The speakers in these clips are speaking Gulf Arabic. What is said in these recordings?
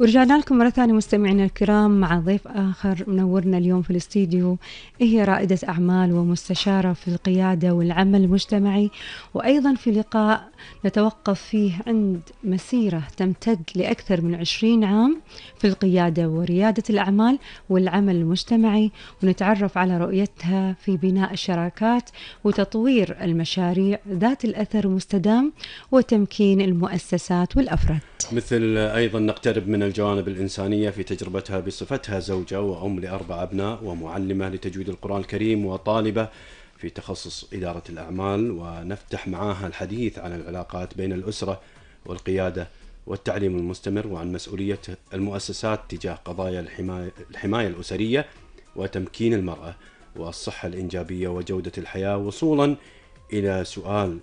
ورجعنا لكم مرة ثانية مستمعينا الكرام مع ضيف آخر منورنا اليوم في الاستديو. هي رائدة أعمال ومستشارة في القيادة والعمل المجتمعي، وأيضا في لقاء نتوقف فيه عند مسيرة تمتد لأكثر من 20 عام في القيادة وريادة الأعمال والعمل المجتمعي، ونتعرف على رؤيتها في بناء الشراكات وتطوير المشاريع ذات الأثر المستدام وتمكين المؤسسات والأفراد. مثل أيضا نقترب من الجوانب الإنسانية في تجربتها بصفتها زوجة وأم ل4 أبناء ومعلمة لتجويد القرآن الكريم وطالبة في تخصص إدارة الأعمال، ونفتح معها الحديث عن العلاقات بين الأسرة والقيادة والتعليم المستمر، وعن مسؤولية المؤسسات تجاه قضايا الحماية الأسرية وتمكين المرأة والصحة الإنجابية وجودة الحياة، وصولا إلى سؤال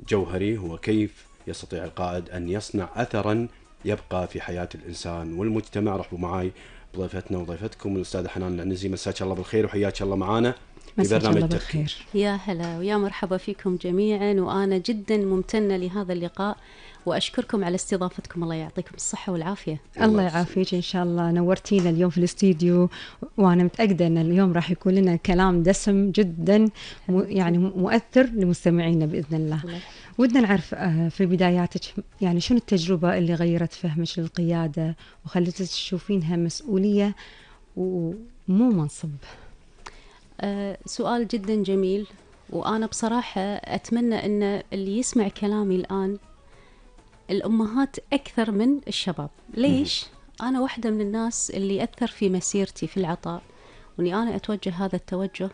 جوهري هو كيف يستطيع القائد أن يصنع أثرا يبقى في حياة الإنسان والمجتمع. رحبوا معي بضيفتنا وضيفتكم الأستاذة حنان العنزي. مساك الله بالخير وحياك الله معنا في برنامج تفكير. يا هلا ويا مرحبا فيكم جميعا، وأنا جدا ممتنة لهذا اللقاء وأشكركم على استضافتكم. الله يعطيكم الصحة والعافية. الله يعافيك إن شاء الله. نورتينا اليوم في الاستديو، وأنا متأكدة أن اليوم راح يكون لنا كلام دسم جدا يعني مؤثر لمستمعينا بإذن الله. ودنا نعرف في بداياتك يعني شنو التجربة اللي غيرت فهمك للقيادة وخلتك تشوفينها مسؤولية ومو منصب؟ سؤال جدا جميل، وأنا بصراحة أتمنى أن اللي يسمع كلامي الآن الأمهات أكثر من الشباب. ليش؟ أنا واحدة من الناس اللي أثر في مسيرتي في العطاء، وأني أنا أتوجه هذا التوجه.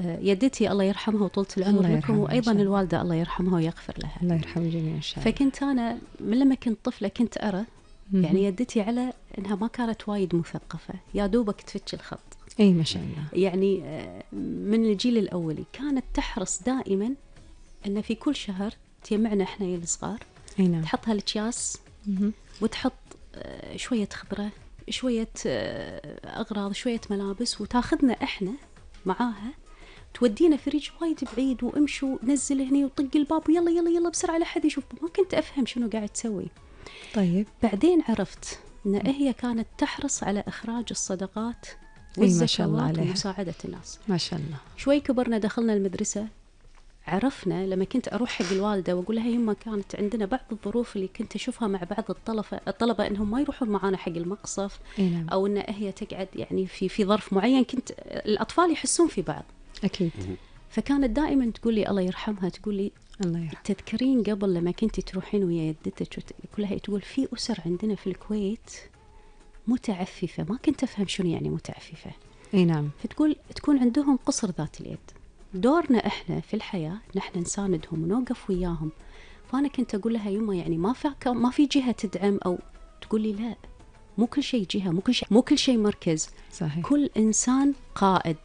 يدتي الله يرحمها وطولة العمر لكم، وأيضا الوالدة الله يرحمها ويغفر لها. الله يرحمها جميعا إن شاء الله. فكنت أنا من لما كنت طفلة كنت أرى يعني يدتي على أنها ما كانت وايد مثقفة، يا دوبك تفتش الخط. أي ما شاء الله. يعني من الجيل الأولي كانت تحرص دائما أن في كل شهر تجمعنا إحنا الصغار، تحط هالأكياس وتحط شوية خضرة، شوية أغراض، شوية ملابس، وتاخذنا إحنا معاها تودينا فريج وايد بعيد، وامشوا نزل هني وطق الباب ويلا يلا يلا بسرعة لحد يشوف. ما كنت أفهم شنو قاعد تسوي. طيب بعدين عرفت أن هي كانت تحرص على إخراج الصدقات والزكوات ومساعدة الناس. ما شاء الله. شوي كبرنا دخلنا المدرسة، عرفنا لما كنت أروح حق الوالدة وأقول لها يما كانت عندنا بعض الظروف اللي كنت أشوفها مع بعض الطلبة إنهم ما يروحون معانا حق المقصف، أو إن هي تقعد يعني في ظرف معين، كنت الأطفال يحسون في بعض. أكيد. فكانت دائما تقول لي الله يرحمها، تقول لي الله يرحمها، تذكرين قبل لما كنتي تروحين ويا يدتك كلها، تقول في أسر عندنا في الكويت متعففة، ما كنت أفهم شنو يعني متعففة. أي نعم. فتقول تكون عندهم قصر ذات اليد، دورنا إحنا في الحياة نحن نساندهم ونوقف وياهم. فأنا كنت أقول لها يما يعني ما في جهة تدعم، أو تقول لي لا، مو كل شيء جهة، مو كل شيء مركز. صحيح. كل إنسان قائد.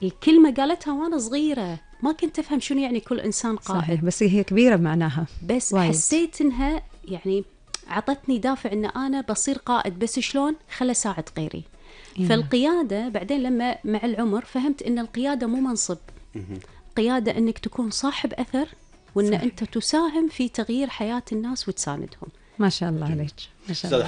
الكلمة قالتها وأنا صغيرة، ما كنت أفهم شنو يعني كل إنسان قائد. صحيح. بس هي كبيرة معناها، بس وايد. حسيت إنها يعني عطتني دافع إن أنا بصير قائد، بس شلون خلى ساعد غيري. فالقيادة بعدين لما مع العمر فهمت إن القيادة مو منصب، قيادة إنك تكون صاحب أثر، وإن أنت تساهم في تغيير حياة الناس وتساندهم. ما شاء الله عليك. ما شاء الله.